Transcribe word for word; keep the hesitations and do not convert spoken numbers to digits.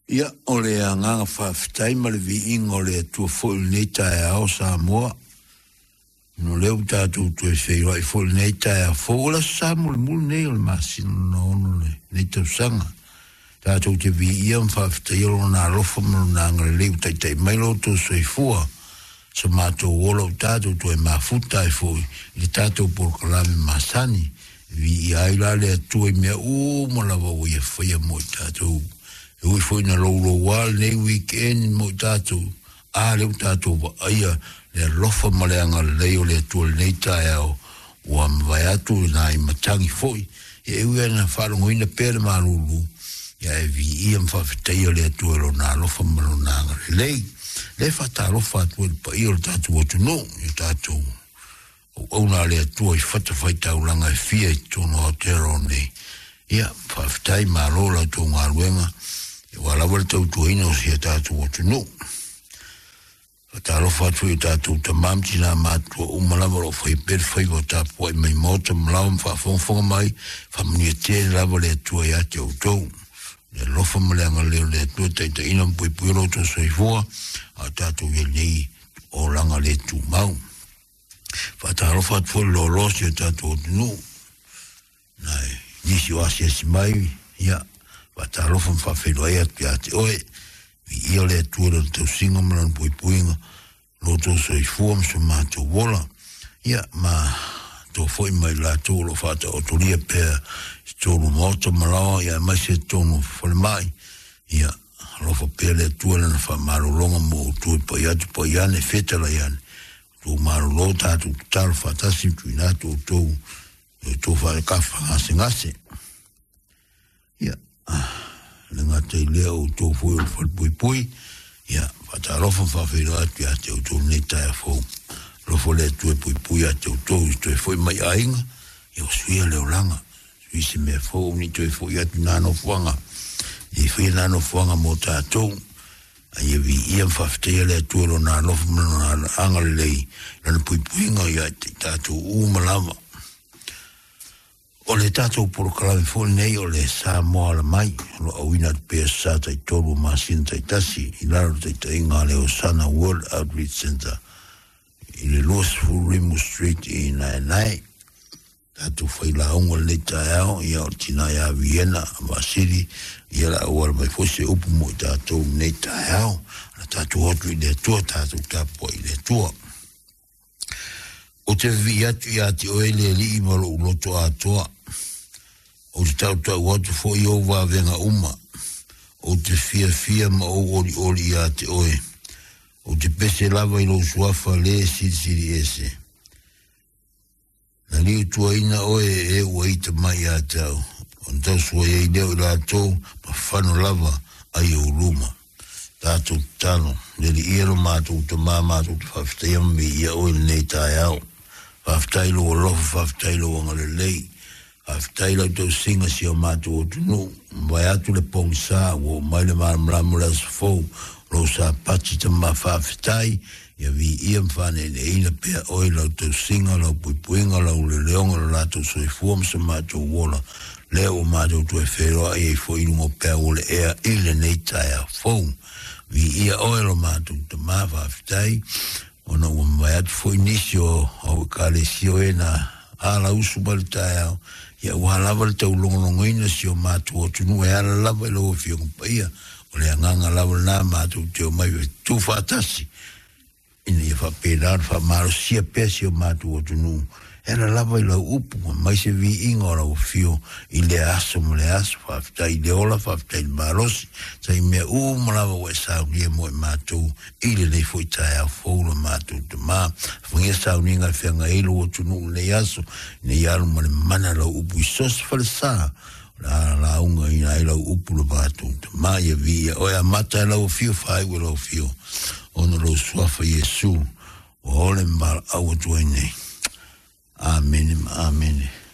Ia, o le agaga faafetai ma le viiga o le Atua foi i lenei taeao Samoa. Ona o lea ua tatou toe feiloai foi i lenei taeao fou. O le aso Sa mulimuli lenei o le masina lona ono o lenei tausaga. Tatou te viia ma faafetaia Lona alofa ma Lona agalelei ua taitai mai lo outou soifua. So matou ola ua tatou toe mafuta ai foi i le tatou polokalame masani. E viia ai la le Atua i mea uma lava ua Ia faia mo i tatou. E ui foi ina louloua lenei weekend mo i tatou, a lea ua tatou vaaia le alofa ma le agalelei o le Atua i lenei taeao ua mavae atu i nai matagi foi. Ia e ui lava ina faalogoina pea le malulu, ia e viia ma faafetaia le Atua i Lona alofa ma Lona agalelei. Lea e faatalofa atu ai i le paia o le tatou atunuu, i o tatou auauna a le Atua i fatafaitaulaga e fia i totonu o Aotearoa nei. Ia, faafetai, malo la outou galuega, aua lava le tautuaina o si a tatou atunuu. Faatalofa atu foi i o tatou tama ma tina matutua uma lava o lo o faia pea le faiva o tapuai mai maota ma laoa ma faafogafoga mai, faamanuia tele lava le Atua ia te outou. Le alofa ma le agalelei o le Atua taitaiina ma puipuia lo outou soifua, a o tatou i ai nei olaga le tumau. Faatalofa atu foi i le loaloa o si o tatou atunuu, nai nisi o asiasi mai, ia, faatalofa ma faafeiloai atu ia te oe. Viia le Atua i lona tausiga ma lona puipuiga, lo outou soifua ma so matou ola. Ia, ma toa foi mai latou o lo o faataotolia pea i totonu o maota ma laoa, ia aemaise i totonu o falemai. Ia, alofa pea le Atua i lana faamalologa mo outou e pai atu pai ane, fetalai ane. Outou malolo tatou tatalo faatasi ma tuuina atu outou i outou faalekafa gasegase. Ia, le gata i lea o outou foi o le falepuipui, ia, faatalofa ma faafeiloai atu ia te outou lenei taeao fou. Alofa le Atua e puipui ia te outou i toe foi mai aiga, ia o suia le olaga, sui se mea fou ni toe foi atu nā nofoaga. I faia nā nofoaga mo tatou, a ia viia ma faafetaia le Atua i Lona alofa ma Lona agalelei, Lana puipuiga ia te tatou uma lava. O le tatou polokalame foi lenei o le Samoa Ala Mai, o lo o auina atu pea sa taitolu o masina taitasi i lalo o le taitaiga a le Osana World Outreach Center i le twenty Rimu Street i Naenae. Tatou failauga lenei taeao, ia o le tina ia Viena Vasili, ia la auala mai foi se upu mo i tatou lenei taeao. La tatou atu i le Atua, tatou tapuai i le Atua. Ou te vivii atu ia te oe le Alii ma lou loto atoa. Ou te tautau atu foi i ou vavega uma. Ou te fiafia ma ou olioli ia te oe. Ou te pese lava i lou suafa le silisili ese. Na liutuaina oe e ua ita mai ia te au. Ona tausua ai lea o i latou ma fano lava ai ou luma. Tatou tatalo, le Alii e lo matou tamā matou te faafetaia ma viia oe i lenei taeao. Faafetai lou alofa, faafetai lou agalelei. Faafetai lau tausiga si o matou atunuu. Mavae atu le pogisa, ua oo mai le malamalama o le aso fou. Lou sapati tama faafetai, ia viia ma faaneeneeina pea oe lau tausiga, lau puipuiga, lau leleoga, lo latou soifua ma so matou ola. Lea ua matou toe feiloai ai foi i luga o peau o le ea i lenei taeao fou. Viia oe lo matou tamā faafetai, ona ua mavae atu foi nisi o au ekalesia o e na ala usu mai le taeao, ia ua lava le taulogologoina si o matou atunuu e ala lava i lau Afioga Paia. O le agaga lava lena matou te omai e tuufaatasi, ina ia faapena ona faamalosia pea si o matou atunuu e ala lava i lau upu, mai se viiga o lau afio i lea aso ma le aso. Faafetai i le ola, faafetai i le malosi, sa i mea uma lava ua e saunia mo i matou i lenei foi taeao fou lo matou tamā. Afagia sauniga e feagai ai lou atunuu i lenei aso, ina ia alu ma le mana lau upu i so o se falesa. O le a lauga ina ai lau upu lo matou tamā, ia viia oe amata e lau afio, faaiu e lau afio, ona lou suafa Iesu, ua ole ma valaau atu ai nei. Amene ma amene.